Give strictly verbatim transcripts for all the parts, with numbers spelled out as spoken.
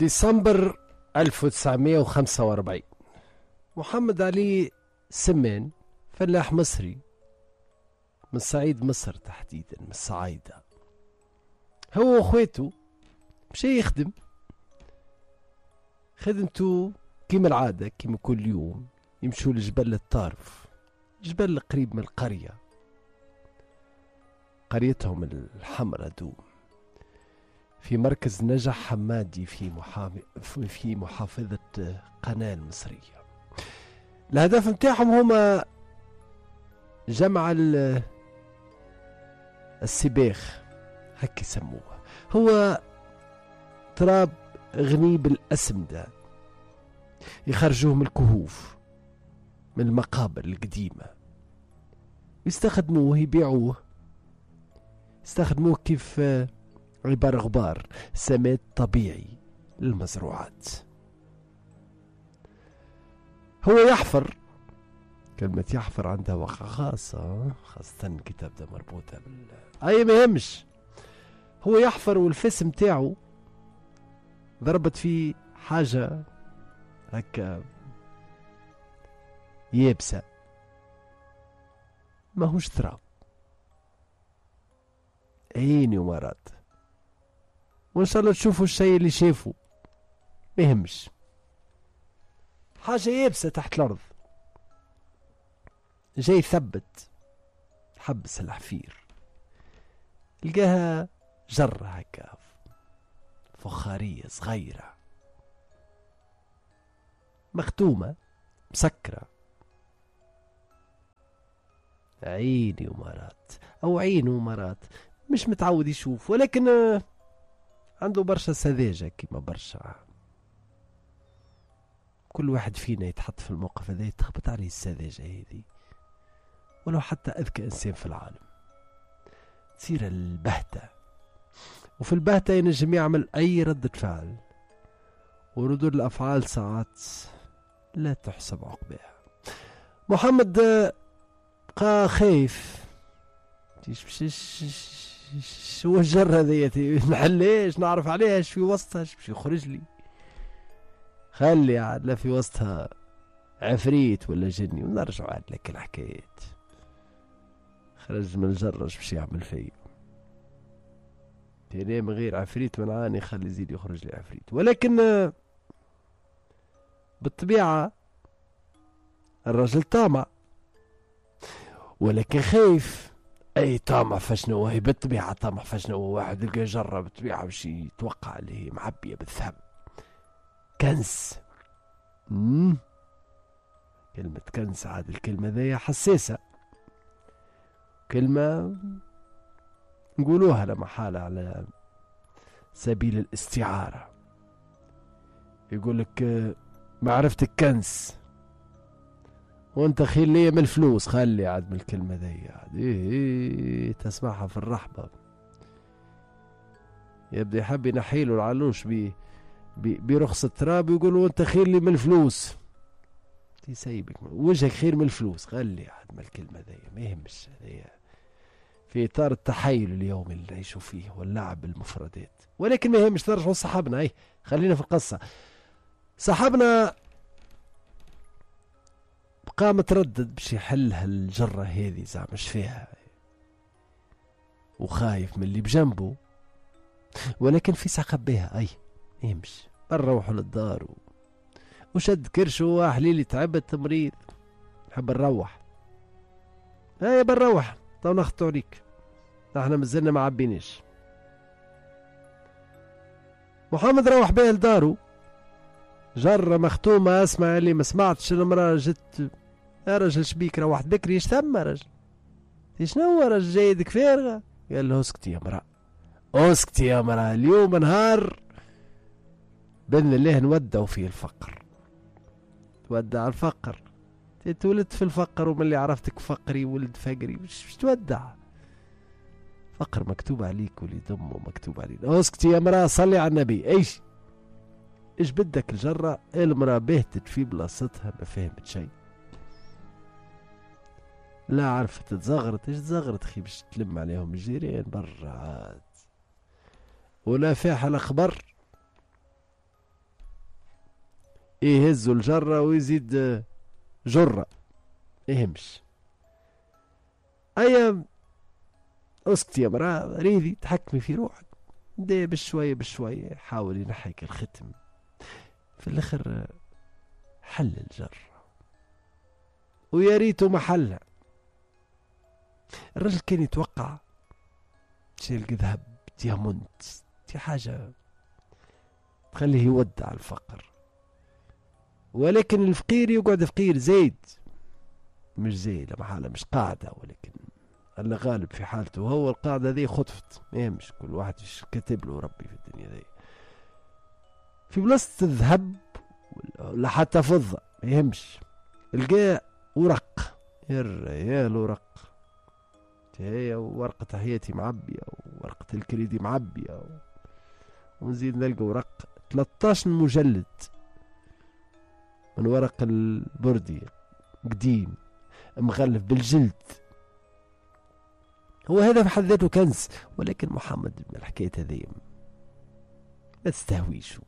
ديسمبر ألف وتسعمائة وخمسة وأربعين، محمد علي سمان فلاح مصري من صعيد مصر، تحديدا من الصعايدة، هو واخواته مشى يخدم خدمته كيما العادة كيما كل يوم، يمشوا لجبل الطارف، جبل قريب من القرية، قريتهم الحمراء دوم، في مركز نجح حمادي في في محافظة قناة المصرية. الهدف متاعهم هما جمع السباخ، هكي يسموه، هو تراب غني بالأسمدة يخرجوه من الكهوف، من المقابر القديمة، يستخدموه يبيعوه، يستخدموه كيف عبارة غبار، سماد طبيعي للمزروعات. هو يحفر، كلمة يحفر عندها وقع خاصة، خاصة كي تبدا مربوطة بال أي ما يهمش. هو يحفر والفس متاعو ضربت فيه حاجة هكا يابسة، ماهوش تراب، عيني ومرات، وإن شاء الله تشوفوا الشيء اللي شافوا، ما يهمش، حاجة يابسة تحت الأرض. جاي يثبت، حبس الحفير، لقاها جرة هكا فخارية صغيرة مختومة مسكرة. عيني ومرات أو عينه ومرات، مش متعود يشوف، ولكن عنده برشا سذاجة كيما برشا. كل واحد فينا يتحط في الموقف هذا يتخبط عليه السذاجة هذه، ولو حتى أذكى إنسان في العالم تصير البهتة، وفي البهتة ينجم يعمل أي ردة فعل، وردود الأفعال ساعات لا تحسب عقبها. محمد بقى خايف، شو الجرة ذي نحليش، نعرف عليها اش في وسطها، اش باش يخرج لي، خلي عاد لا في وسطها عفريت ولا جني، ونرجعوا عاد لك الحكايات. خرج من الجرة اش باش يعمل فيا، تاني من غير عفريت من عاني، خلي يزيد يخرج لي عفريت. ولكن بالطبيعة الرجل طامع، ولكن خايف. اي طامع فشنو هي، بالطبيعة طامع فشنو، واحد لقى جرة بالطبيعة باش يتوقع اللي هي معبية بالذهب، كنز. مم. كلمة كنز عاد الكلمة ذي حساسة، كلمة نقولوها لما حالة على سبيل الاستعارة. يقول لك معرفة الكنز وانت خير لي من الفلوس، خلي عاد من الكلمة ذي عاد إيه إيه تسمعها في الرحبة، يبدأ يحب ينحيله العلوش بي برخص التراب، يقولوا انت خير لي من الفلوس، تسيبك وجهك خير من الفلوس، خلي عاد من الكلمة ذي ما يهمش. هذي في إطار التحايل اليومي اللي نعيشوا فيه واللعب بالمفردات، ولكن ما يهمش. نرجعوا لصاحبنا، اي خلينا في القصة. صاحبنا بقى متردد باش يحل هالجرة هذه، زعما اش فيها، وخايف من اللي بجنبه، ولكن في ساعة خبيها. اي يمشي نروحوا للدار و... وشد كرشو، حليلي تعبت مريض نحب نروح، هيا بنروح تو نخطو عليك، احنا مازلنا ما عبيناش. محمد روح بيه لدارو، جرة مختومة، اسمع اللي ما سمعتش المرأة جت، يا رجل شبيك روحت بكري، ايش ثم رجل، شنو رجل جايدك فارغة؟ قال له اسكتي يا مرأة، اسكتي يا مرأة، اليوم نهار بإذن الله نودعوا فيه الفقر، تودع الفقر، تولدت في الفقر ومن اللي عرفتك فقري ولد فقري، مش تودع فقر، مكتوب عليك وليد امه مكتوب عليك. اسكتي يا مرأة، صلي على النبي. ايش ايش بدك الجرة؟ المرأة بهتت في بلاصتها، ما فهمت شيء، لا عرفت تزغرت، ايش تزغرت خي باش تلم عليهم الجيران برا عاد، ولا فيها الخبر. يهزوا الجرة ويزيد جرة يهمش. أيا اسكت يا مرا، ريدي تحكمي في روحك. بدا بشوية بشوية حاول ينحيك الختم، في الاخر حل الجرة ويا ريته ما حلها. الرجل كان يتوقع شيل ذهب diamant، دي حاجة تخليه يودع الفقر، ولكن الفقير يقعد فقير زايد، مش زايد محالة، مش قاعدة، ولكن الله غالب في حالته هو القاعدة ذي خطفت، ما مش كل واحد كاتب له ربي في الدنيا ذي. في بلاصة الذهب ولا حتى فضة ما يهمش، لقى ورق، يا الورق هي ورقة حياتي معبية وورقة الكريدي معبية، ونزيد نلقى ورق ثلاثة عشر مجلد من ورق البردي قديم مغلف بالجلد. هو هذا في حد ذاته كنز، ولكن محمد من الحكاية هذه ما تستهويش،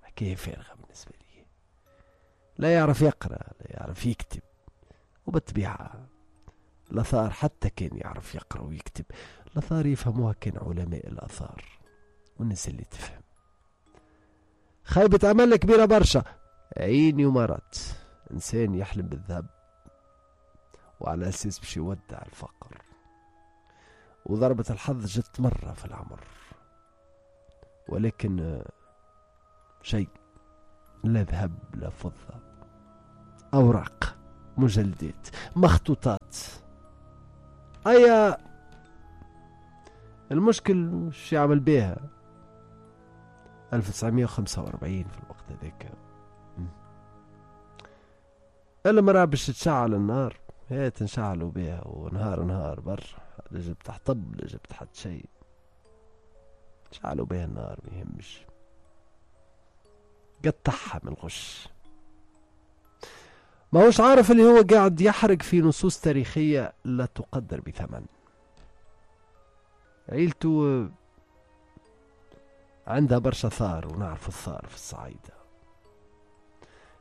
حكاية فارغة بالنسبة لي، لا يعرف يقرأ لا يعرف يكتب، وبالطبيعة الآثار حتى كان يعرف يقرأ ويكتب، الآثار يفهموها كان علماء الآثار والناس اللي تفهم. خيبة أمل كبيرة برشا، عيني ومرات إنسان يحلم بالذهب وعلى أساس باش يودع الفقر، وضربة الحظ جت مرة في العمر، ولكن شيء لا ذهب لا فضة، أوراق، مجلدات، مخطوطات. أيا المشكل مش يعمل بيها. ألف وتسعمية وخمسة وأربعين في الوقت هذاك المرأة باش تشعل النار هي تنشعلوا بيها، ونهار نهار بر لا جبت حطب لا جبت حد شيء، شعلوا بيها النار ما يهمش، قطعها من الغش. ما هوش عارف اللي هو قاعد يحرق في نصوص تاريخية لا تقدر بثمن. عيلته عندها برشا ثار، ونعرف الثار في الصعيدة.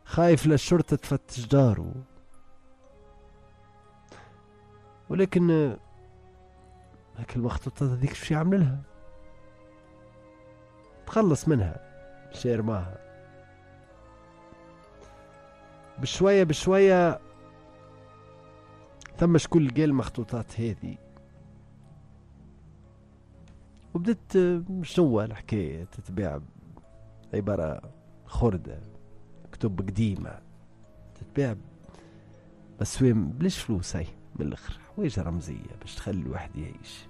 خايف للشرطة تفتش داره، ولكن هاك المخطوطات هذيك شو يعمل لها؟ تخلص منها، شير معها بشوية بشوية. ثم شكون لقى المخطوطات هذه وبدت شنو الحكاية تتباع، عبارة خردة، كتب قديمة تتباع بس بلاش فلوس، هاي من الآخر حوايج رمزية باش تخلي الواحد يعيش.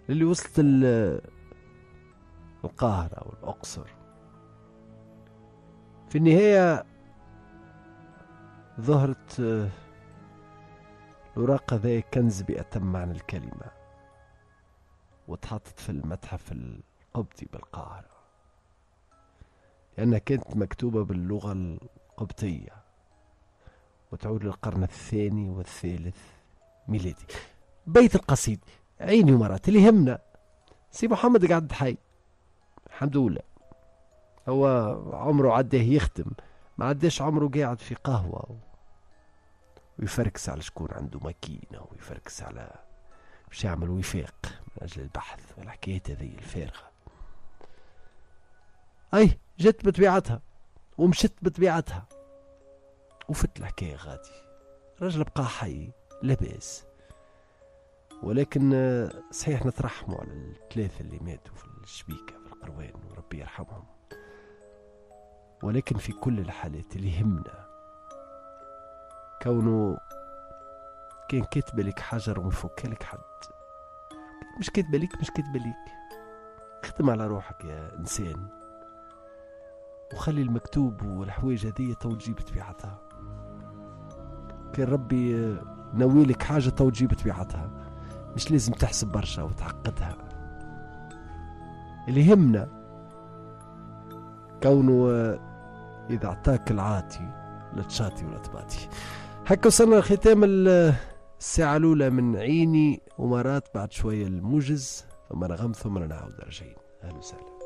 اللي وصلت القاهرة والأقصر في النهاية ظهرت الوراق ذا كنز بأتم معنى الكلمة، وتحطت في المتحف القبطي بالقاهرة لأنها كانت مكتوبة باللغة القبطية وتعود للقرن الثاني والثالث ميلادي. بيت القصيد عيني ومرات اللي يهمنا سي محمد قعد حي الحمد لله، هو عمره عداه يخدم، ما عداش عمره قاعد في قهوة ويفركس على شكون عنده ماكينة ويفركس على باش يعمل وفاق من أجل البحث والحكايات هذه الفارغة. أي جت بطبيعتها ومشت بطبيعتها وفت الحكاية غادي. الرجل بقى حي لاباس، ولكن صحيح نترحموا على الثلاثة اللي ماتوا في الشبيكة في القروان وربي يرحمهم، ولكن في كل الحالات اللي يهمنا كونه كان كاتب لك حجر ومفك لك حد، مش كاتبه لك مش كاتبه لك. اخدم على روحك يا إنسان وخلي المكتوب والحوايج هذه تو تجيب طبيعتها. كان ربي ناويلك حاجة تو تجيب طبيعتها، مش لازم تحسب برشا وتعقدها. اللي يهمنا كونه إذا اعطاك العاطي لا تشاطي ولا تباطي. هكا وصلنا لختام الساعة الأولى من عيني ومرات، بعد شوية الموجز ثم نغم ثم نعود راجعين. أهلا وسهلا.